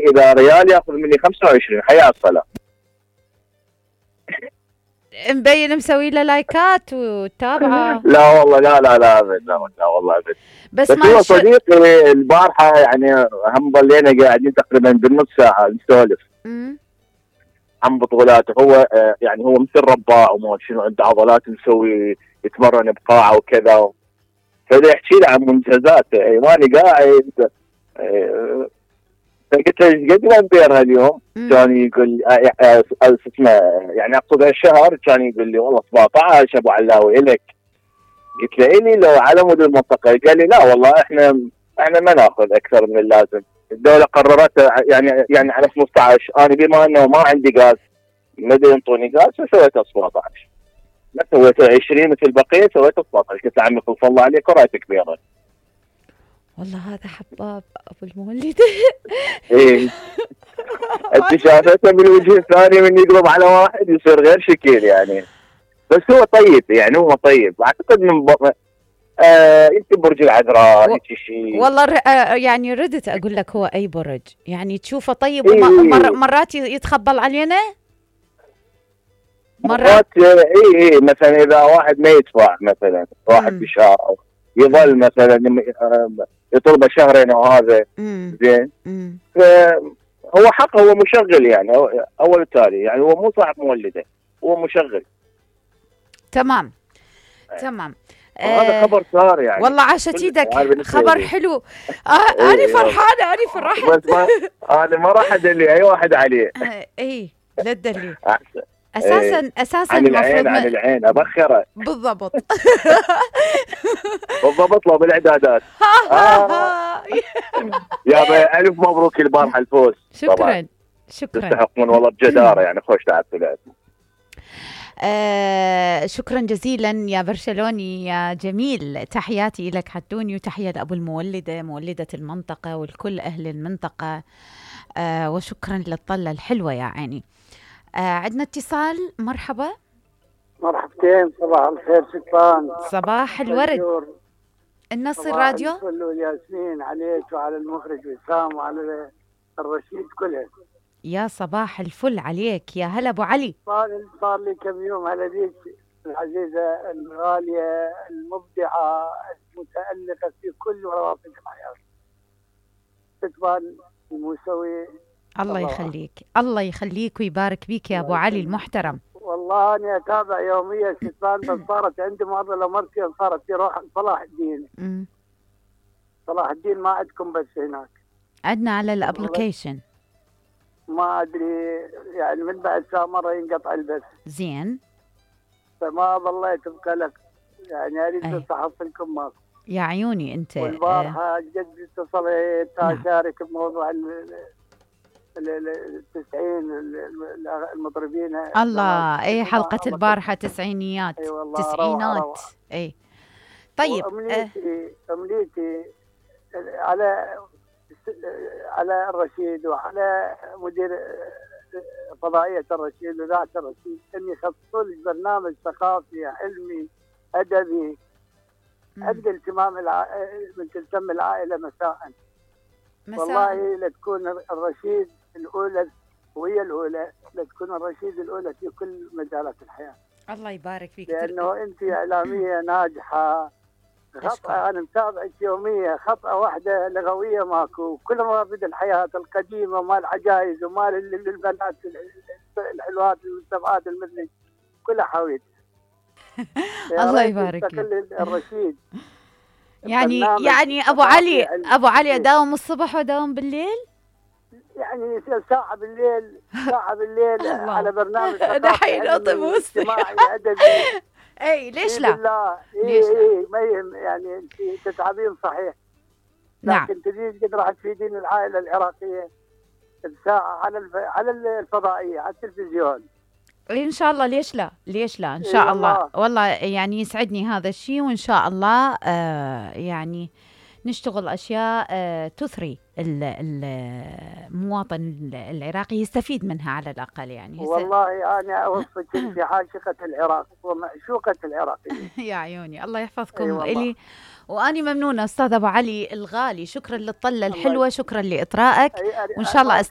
اذا ريال ياخذ مني 25. حيا الصلاه. مبين مسوي له لايكات وتابعه. لا والله لا ابد، لا والله ابد. بس هو صديقي البارحه يعني هم ضلينا قاعدين تقريبا بالنص ساعه نسولف عن بطولاته. هو يعني هو مثل رباع وما شنو، عنده عضلات، مسوي يتمرن بقاعه وكذا. فدا يحكي لي عن منجزاته. ماني قاعد فقلت له ايش قد الامبير هاليوم؟ كان يقول اسمه يعني اقصد هالشهر، كان يقول لي والله 17 ابو علاوي الك. قلت له الي لو على مود المنطقه. قال لي لا والله احنا ما ناخذ اكثر من اللازم. الدوله قررت يعني على 15. انا بما انه ما عندي غاز ما ينطوني غاز فسويته 17. ما سويته 20 مثل بقيه، سويته 17. قلت له عمي خلص الله عليك ورايتك كبيره. والله هذا حباب ابو المولد. ايه انت شافته من الوجه الثاني من يقلب على واحد يصير غير شكل يعني. بس هو طيب يعني، هو طيب اعتقد من يمكن برج العذراء هيك شيء. والله يعني ردت اقول لك هو اي برج يعني تشوفه طيب. مرات يتخبل علينا مرات. اي مثلا اذا واحد ما يدفع مثلا واحد بشهر يظل مثلا يطلبه شهرين وهذا زين. هو حقه، هو مشغل يعني اول تالي يعني. هو مو صاحب مولده، هو مشغل. تمام. هذا خبر صار يعني. والله عاشت ايدك، خبر حلو. انا فرحانه بس انا ما راح ادلي اي واحد عليه. اي لا تدلي اساسا عن العين ابخره بالضبط. بالضبط لو بالاعدادات. يا الف مبروك البارحه الفوز. شكرا تستحقون والله بجداره يعني. خوش تعبتوا لعب. شكرا جزيلا يا برشلوني يا جميل. تحياتي لك حدوني، وتحية لأبو المولدة، مولدة المنطقة والكل أهل المنطقة. وشكرا للطلة الحلوة يا عيني. عندنا اتصال. مرحبا. مرحبتين. صباح الخير شكرا. صباح الورد. النص الراديو. ياسمين عليك وعلى المخرج وسام وعلى الرشيد كلها. يا صباح الفل عليك. يا هلا ابو علي. صار لي كم يوم هلا بيك العزيزه الغاليه المبدعه المتالقه في كل روابط الحياه. ستبان المسوي. الله يخليك ويبارك بيك يا ابو علي المحترم. والله انا اتابع يوميا ستبان. بس صارت عندي معضله مرتين صارت في روح صلاح الدين. صلاح الدين ما عندكم بس هناك؟ عندنا على الابلكيشن. ما ادري يعني من بعد ساعه مره ينقطع البث. زين. فما ظليت بقلق يعني. اريد احصلكم ماكو يا عيوني انت. والبارحه جد اتصلت اشارك بموضوع ال90 المطربين. الله اي حلقه البارحه تسعينيات. تسعينات. اي طيب. امنيتي على الرشيد وعلى مدير فضائية الرشيد وذات الرشيد أن يخصصوا لي برنامج ثقافي علمي أدبي عند التمام من تلتم العائلة مساء. والله لتكون الرشيد الأولى وهي الأولى، لتكون الرشيد الأولى في كل مجالات الحياة. الله يبارك فيك. لأنه أنت إعلامية ناجحة. خطأ أنا متابعك يوميا، خطأ واحدة لغوية ماكو. كل موارد الحياة القديمة مال العجائز ومال البنات الحلوات المستبعات المثلي كلها حاويت. الله يبارك فيك. الرشيد يعني أبو علي أداوم الصبح وأداوم بالليل؟ يعني ساعة بالليل على برنامج دحين أطب اجتماعي أدبي. اي ليش لا؟ ليش ما يعني انت تتعبين صحيح. نعم. لكن تريد قد راح تفيدين العائله العراقيه بساعه على الفضائيه على التلفزيون. ان شاء الله. ليش لا ان شاء الله. والله يعني يسعدني هذا الشيء، وان شاء الله يعني نشتغل اشياء تثري المواطن العراقي يستفيد منها على الاقل يعني. والله انا اوصفك في عاشقه العراق ومعشوقه العراق. يا عيوني الله يحفظكم الي. واني ممنونه استاذ ابو علي الغالي. شكرا للطله الحلوه، شكرا لاطرائك، وان شاء الله